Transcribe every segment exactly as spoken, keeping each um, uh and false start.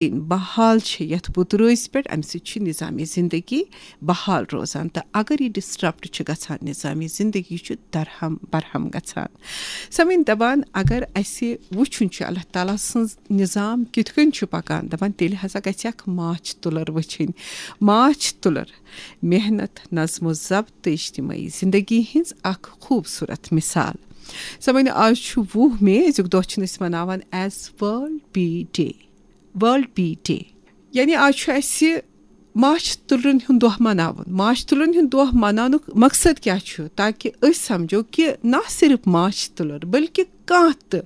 بحال چھِ یَتھ بُترٲژ پٮ۪ٹھ، اَمہِ سۭتۍ چھُ نظام زندگی بحال روزان، تہٕ اگر یہِ ڈسٹرپٹ چھُ گژھان، نظام زندگی چھُ درہم برہم گژھان۔ سامعیٖن، دَپان اگر اَسہِ وٕچھُن چھُ اللہ تعالیٰ سٕنٛز نظام کِتھ کٔنۍ چھُ پَکان، دَپان تیٚلہِ ہسا گژھِ اکھ ماچھ تُلر وٕچھِنۍ۔ ماچھ تُلر، محنت، نظم و ضبط تہٕ اجتماعی زندگی ہٕنٛز اکھ خوٗبصوٗرت مثال۔ سامعیٖن، آز چھُ وُہ مئی، أزیُک دۄہ چھِن أسۍ مناوان as World Bee Day۔ World Bee Day، یعنی آز چھُ اَسہِ ماچھ تُلرَن ہُنٛد دۄہ مناوُن۔ ماچھ تُلرَن ہُنٛد دۄہ مناونُک مقصد کیٛاہ چھُ؟ تاکہِ أسۍ سمجھو کہِ نہ صرف ماچھ تُلر، بلکہِ کانٛہہ تہِ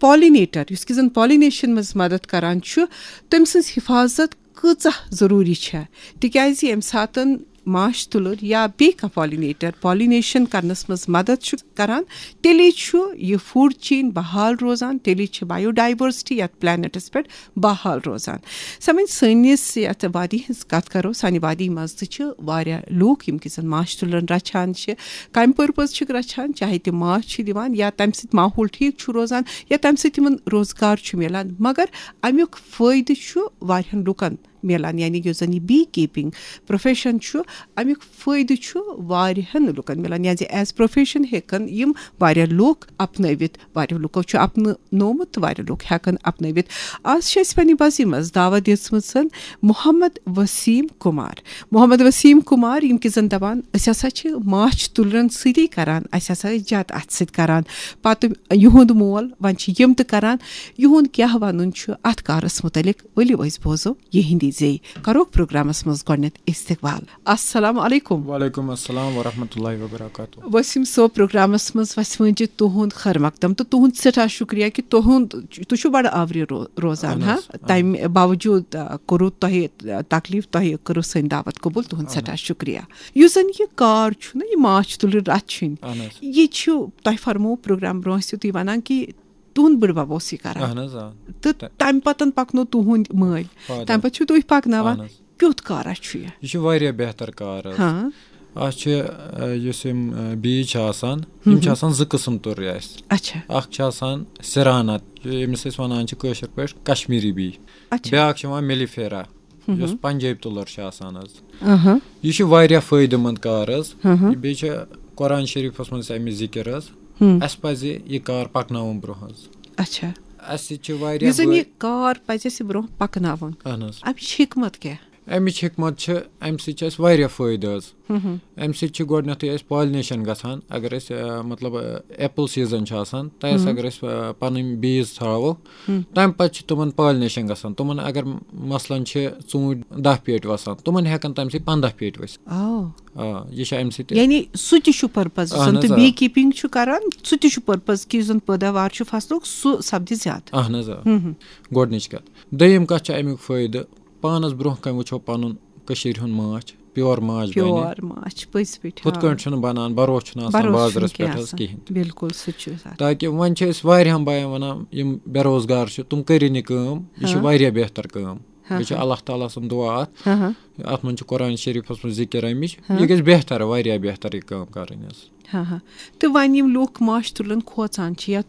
پالینیٹر، یُس کہِ زن پالینیشن منٛز مدد کران چھُ، تٔمۍ سٕنٛز حفاظت کۭژاہ ضروٗری چھےٚ۔ تِکیٛازِ ییٚمہِ ساتَن ماچھ تُلر یا بیٚیہِ کانٛہہ پالینیٹر پالینیشن کرنس منٛز مدد چھُ کران، تیٚلے چھُ یہِ فوڈ چین بحال روزان، تیٚلے چھِ بایو ڈائیورسٹی یتھ پلینٹس پٮ۪ٹھ بحال روزان۔ سامعیٖن، سٲنِس یتھ وادی ہٕنٛز کتھ کرو، سانہِ وادی منٛز تہِ چھِ واریاہ لوٗکھ یِم کہِ زن ماچھ تُلرن رچھان چھِ، کمہِ پرپز چھِکھ رچھان، چاہے تِم ماچھ چھِ دِوان یا تمہِ سۭتۍ ماحول ٹھیک چھُ روزان یا تمہِ سۭتۍ تِمن روزگار چھُ میلان، مگر امیُک فٲیدٕ چھُ واریاہن لوٗکن میلان، یعنی یُس زن یہِ بی کیپنگ پروفیشن چھُ، امیُک فٲیدٕ چھُ واریاہن لوٗکن میلان، یعنی ایز پروفیشن ہیٚکن یِم واریاہ لوٗکھ اپنٲوِتھ، واریاہ لوٗکو چھُ اپناونومُت تہٕ واریاہ لوٗکھ ہیٚکن اپنٲوِتھ۔ آز چھِ اَسہِ پننہِ بزی منٛز دعوت دِژمٕژ محمد وسیم کمار۔ محمد وسیم کمار، یِم کہِ زن دپان، أسۍ ہسا چھِ ماچھ تُلرن سۭتی کران، اَسہِ ہسا ٲسۍ زیادٕ اتھ سۭتۍ کران، پتہٕ یِہُنٛد مول، وۄنۍ چھِ یِم تہِ کران۔ یِہُنٛد کیٛاہ ونُن چھُ اتھ کارس متعلق، ؤلِو أسۍ بوزو یِہنٛدی زے۔ کروکھ پروگرامس منٛز گۄڈٕنٮ۪تھ استقبال۔ السلام علیکم۔ وعلیکم السلام ورحمۃ اللہ وبرکاتہ۔ وسیم صٲب، پروگرامس منٛز وسہِ وٲنجہِ تُہُنٛد خیر مقدم تہٕ تُہُنٛد سٮ۪ٹھاہ شُکریہ کہِ تُہُنٛد، تُہۍ چھِو بڑٕ آورِ رو-، روزان، اہن ہا؟ حظ، اہن۔ تَمہِ باوجوٗد، آ، کوٚروٕ تۄہہِ، آ، تکلیف، تۄہہِ کٔرٕو سٲنۍ دعوت قبول، تُہُنٛد اہن حظ۔ سٮ۪ٹھاہ شُکریہ۔ یُس زن یہِ کار چھُ نا، یہِ ماچھ تُلٕر رچھ چھِنۍ، اہن حظ۔ یہِ چھُ، تۄہہِ فرموو پروگرام برونٛہہ ٲسِو تُہۍ ونان کہِ تُہُنٛد بٕڈبب اوس یہِ کران۔ اہن حظ، آ۔ تہٕ تہٕ تمہِ پتن پکنو تُہُنٛد مٲلۍ۔ فادر۔ تمہِ پتہٕ چھِو تُہۍ پکناوان۔ اہن حظ۔ کیُتھ کارا چھُ یہِ؟ یہِ چھُ واریاہ بہتر کار حظ۔ ہاں۔ اَتھ چھِ، آ، یُس یِم، آ، بیٖج چھِ آسان، یِم چھِ ہم۔ آسان زٕ قٕسٕم تُررِ اَسہِ۔ اچھا۔ اکھ چھِ آسان سِرانت، ییٚمِس أسۍ وَنان چھِ کٲشِر پٲٹھۍ کشمیٖری بیٖج۔ اچھا۔ بیٛاکھ چھِ یِوان میلیفیرا، ہم۔ یۄس پنجٲبۍ تُلر چھِ آسان حظ۔ اہاں۔ یہِ چھُ واریاہ فٲیدٕ مند کار حظ۔ ہم۔ بیٚیہِ چھِ قرآن شریٖفَس منٛز اَمِچ ذِکِر حظ۔ ہم۔ اَسہِ پَزِ یہِ کار پَکناوُن برٛونٛہہ حظ۔ اچھا۔ اَسہِ چھِ واریاہ یُس زَن بٔڑۍ یہِ کار پَزِ اَسہِ برٛونٛہہ پَکناوُن۔ اَہَن حظ۔ اَمِچ حِکمت کیٛاہ؟ اَمِچ حِکمت چھِ، اَمہِ سۭتۍ چھِ اَسہِ واریاہ فٲیدٕ حظ۔ ہم۔ اَمہِ سۭتۍ چھِ گۄڈٕنٮ۪تھٕے اَسہِ پالنیشن گژھان۔ اگر أسۍ، آ، مطلب، آ، ایپل سیزن چھُ آسان، تۄہہِ آسہِ ہم۔ اگر أسۍ، آ، پَنٕنۍ بیٖز تھاوو، ہم۔ تَمہِ پَتہٕ چھِ تِمن پالنیشن گژھان۔ تِمن اگر مثلاً چھِ ژوٗنٛٹھۍ دَہ پیٹہِ وَسان، تِمن ہٮ۪کن تَمہِ سۭتۍ پنٛداہ پیٹہِ ؤسِتھ۔ آ۔ آ، یہِ چھُ اَمہِ سۭتۍ تہِ۔ یعنی سُہ تہِ چھُ پرپز، یُس اَہَن زَن حظ، تُہۍ آ۔ بی کیپنگ چھُ کران، سُہ تہِ چھُ پرپز کہِ یُس زَن پٲداوار چھُ فصلُک، سُہ سپدِ زیادٕ۔ اَہَن حظ، آ۔ ہم ہم۔ گۄڈٕنِچ کَتھ۔ دوٚیِم کَتھ چھِ اَمیُک فٲیدٕ، پانَس برٛونٛہہ کَنہِ وٕچھو پَنُن کٔشیٖرِ ہُنٛد ماچھ، پیور ماچھ بَنہِ۔ پیور ماچھ، پٔزۍ پٲٹھۍ، ہُتھ آ۔ کٲٹھۍ چھُنہٕ بَنان، بَروسہٕ چھُنہٕ آسان بَروسہٕ بازرَس چھُنہٕ پٮ۪ٹھ کینٛہہ حظ آسان۔ کِہیٖنۍ تہِ۔ بِلکُل، سُہ چھُ آسان۔ تاکہِ وۄنۍ چھِ أسۍ واریاہَن بایَن وَنان، یِم بے روزگار چھِ، تِم کٔرِو نہٕ کٲم، یہِ چھِ ہاں۔ واریاہ بہتر کٲم۔ ہاں، بیٚیہِ چھِ ہاں۔ اللہ تعالیٰ سُنٛد دُعا اَتھ۔ ہاں، ہاں۔ اَتھ منٛز چھِ قرآن شریٖفَس منٛز ذِکِر آمٕچ۔ ہاں۔ یہِ گژھِ بہتر، واریاہ بہتر یہِ کٲم کَرٕنۍ حظ۔ ہاں، ہاں۔ تہٕ وۄنۍ یِم لوٗکھ ماچھ تُلرَن کھوژان چھِ یا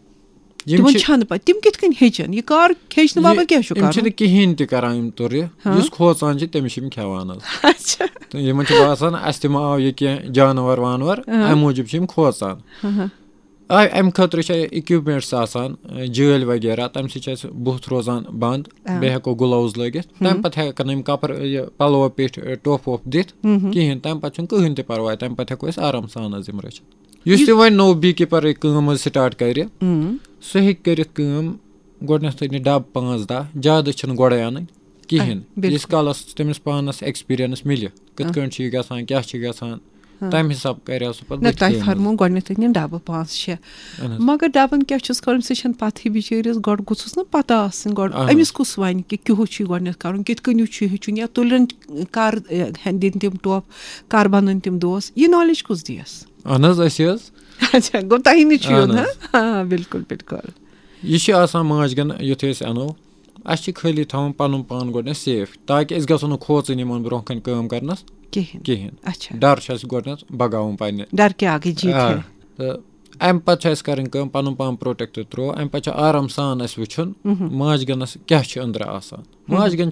یِم تِمَن چھِ چھَنہٕ پَتہ، تِم کِتھ کٔنۍ ہیٚچھَن؟ یہِ کار ہیٚچھنہٕ یہِ، باپَتھ کیٛاہ چھُ یِم کَرُن؟ چھِنہٕ کِہیٖنۍ تہِ کَران یِم تُرِ۔ ہاں۔ یُس کھوژان چھِ، تٔمِس چھِ یِم کھٮ۪وان حظ۔ اچھا۔ تہٕ یِمَن چھُ باسان، اَسہِ تہِ ما آو یہِ کینٛہہ جانوَر وانوَر، ہاں۔ اَمہِ موٗجوٗب چھِ یِم کھوژان۔ ہاں، ہاں۔ آ، اَمہِ خٲطرٕ چھِ اِکوِپمٮ۪نٛٹٕس آسان، اَ، جٲلۍ وغیرہ، تَمہِ سۭتۍ چھِ اَسہِ بُتھ روزان بنٛد۔ آ۔ بیٚیہِ ہٮ۪کو گُلوز لٲگِتھ۔ ہُم۔ تَمہِ پَتہٕ ہٮ۪کَن یِم کَپر، یہِ پَلو پٮ۪ٹھۍ، ٹۄپھ وۄپھ دِتھ ہُم ہُم۔ کِہیٖنۍ۔ تَمہِ پَتہٕ چھُنہٕ کٕہٕنۍ تہِ پَرواے، تَمہِ پَتہٕ ہٮ۪کو أسۍ آرام سان حظ یِم رٔچھِتھ۔ یُس یُس تہِ وۄنۍ نوٚو بی کیٖپَر یہِ کٲم حظ سٹارٹ کَرِ، ہُم۔ سُہ ہیٚکہِ کٔرِتھ کٲم، گۄڈٕنٮ۪تھ أنِو ڈَبہٕ پانٛژھ دَہ، زیادٕ چھِنہٕ گۄڈَے اَنٕنۍ کِہیٖنۍ۔ آ، بِلکُل۔ ییٖتِس کالَس تٔمِس پانَس ایکسپیٖریَنٕس مِلہِ، کِتھ آ۔ کٲٹھۍ چھُ یہِ گژھان، کیٛاہ چھُ گژھان، ہاں۔ تَمہِ حساب کَرِ ہا سُہ پَتہٕ نہ، بٕتھِ تۄہہِ کٲم۔ فرموو گۄڈٕنٮ۪تھ أنِو ڈَبہٕ پانٛژھ شےٚ۔ اہن حظ۔ مگر ڈَبَن کیٛاہ چھُس کَرُن، سُہ چھَنہٕ پَتہٕے بِچٲرِس، گۄڈٕ گوٚژھُس نہ پَتہ آسٕنۍ، گۄڈٕ اہن حظ۔ أمِس کُس وَنہِ کہِ کیُہُس چھُ یہِ گۄڈٕنٮ۪تھ کَرُن، کِتھ کٔنۍ چھُ یہِ ہیٚچھُن، یا تُلرٮ۪ن کَر، اے، ہٮ۪ن دِنۍ تِم ٹۄپھ، کَر بَنٲوِنۍ تِم دوس، یہِ نالیج کُس دِیَس؟ اہن حظ، أسۍ حظ۔ اچھا، گوٚو تۄہہِ نِش چھُ یُن، اہن ہاں؟ حظ۔ آ، بِلکُل، بِلکُل۔ یہِ چھِ آسان ماچھ گَن، یُتھُے أسۍ اَنو، اَسہِ چھِ خٲلی تھاوُن پَنُن پان گۄڈٕنٮ۪تھ سیف، تاکہِ أسۍ گژھو نہٕ کھوژٕنۍ یِمَن برونٛہہ کَنہِ کٲم کَرنَس کِہیٖنۍ۔ کِہیٖنۍ۔ اچھا۔ ڈَر چھُ اَسہِ گۄڈٕنٮ۪تھ بَگاوُن پنٛنہِ۔ ڈر کے آگے جیت آ، ہے۔ تہٕ اَمہِ پَتہٕ چھُ اَسہِ کَرٕنۍ کٲم، پَنُن پان پرٛوٹیکٹ ترٛوو، اَمہِ پَتہٕ چھُ آرام سان اَسہِ وٕچھُن، مہم۔ ماچھ گَنَس کیٛاہ چھُ أنٛدرٕ آسان۔ مہم۔ ماچھ گَن چھِ